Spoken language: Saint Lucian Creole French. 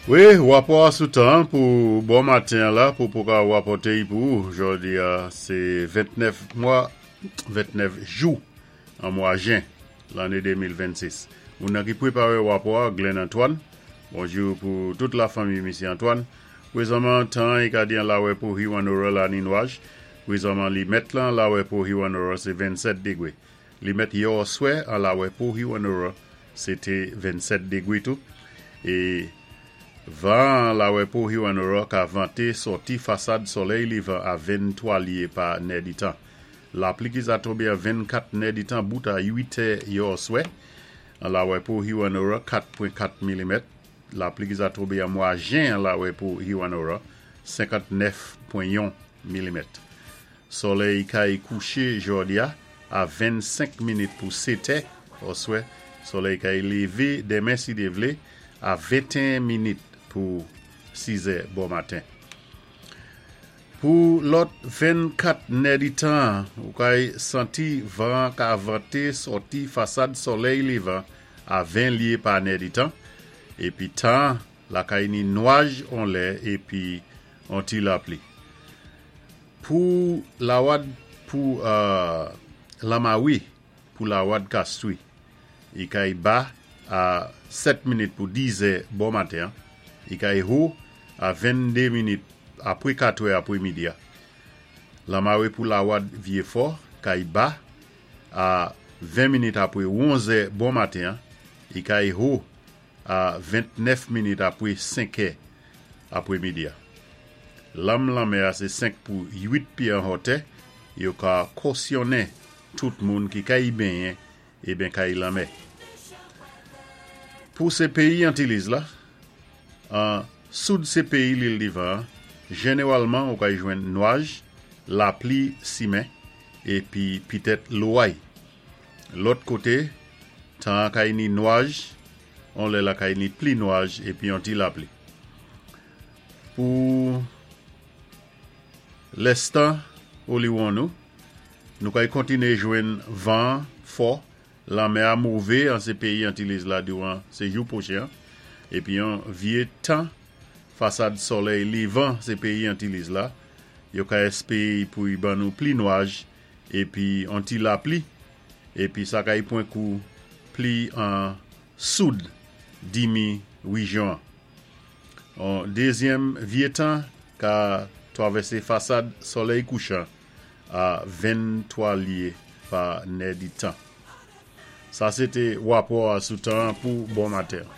Wi, wapò a sou tan pou bon maten an la pou pou ka wapòté-y pou ou. Jòdi a sé 29 mwa, 29 jou an mwa jen lanné 2026. Moun nan ki pweparé wapò a, Glenn Antoine. Bonjou pou tout la fanmi Misye Antoine. Pwezanman tan an i ka di an lawè pou Hewanorra la ni nwaj. Pwezanman li mèt lan lawè pou Hewanorra sé 27 degwé. Li mèt yè òswè an lawè pou Hewanorra se té 27 degwe tou. E van an lawè pou Hewanorra ka vante sòti fasad sòlèy levan a 23 lye pa nèditan. Lapli ki za tonbe an 24 nèditan bout a 8 tè yè òswè an lawè pou Hewanorra 4.4 milimèt. Lapli ki za tonbe an mwa jen an lawè pou Hewanorra 59.1 milimèt. Solèy kay kouché jòdi-a a 25 minit pou setè oswè, solèy kay lévé denmen si Dye vlé a 21 minit pou sizè bò maten. Pou lòt 24 nèditan, ou kay santi van ka vante sòti fasad solèy levan a 20 lye pa nèditan, épi tan lakay ni nwaj on lè épi on ti lapli. Pou lawad pou Lamawi pou lawad Kastwi. I kay ba a 7 minit pou 10 zè bò maten an. I kay ho a 22 minit apwe 4 è apwe midi a. Lamawi pou lawad Vyefò kay ba a 20 minit apwe 11 zè bò maten an. I kay ho a 29 minit apwe 5 è apwe midi a. Lanm lanmè a sé 5 pou 8 pyé an hòtè, yo ka kosyonnen tout moun ki kay benyen eben kay lanmè. Pou sé peyi Antiliz la, an soud sé peyi Lil Divan an, jenewalman ou kay jwenn nwaj, lapli simen, épi pitèt loway. Lòt koté, tan an kay ni nwaj, on lè la kay ni pli nwaj épi on ti lapli. Pou lèstan oliwon nou, nou kay kontiné jwenn van fò, lanmè a mové an sé peyi Antiliz la diwan sé jou pwochen an, épi yon vyé tan fasad sòlèy levan sé peyi Antiliz la, yo ka èspéé pou y ban nou pli nwaj épi on ti lapli, épi sa kay pwen kou pli an soud dimi wijyon an. On dezyèm vye tan ka twavèsé fasad sòlèy kouchan a 23 lye pa nèditan. Sa sé té wapò a sou tan an pou bon maten an.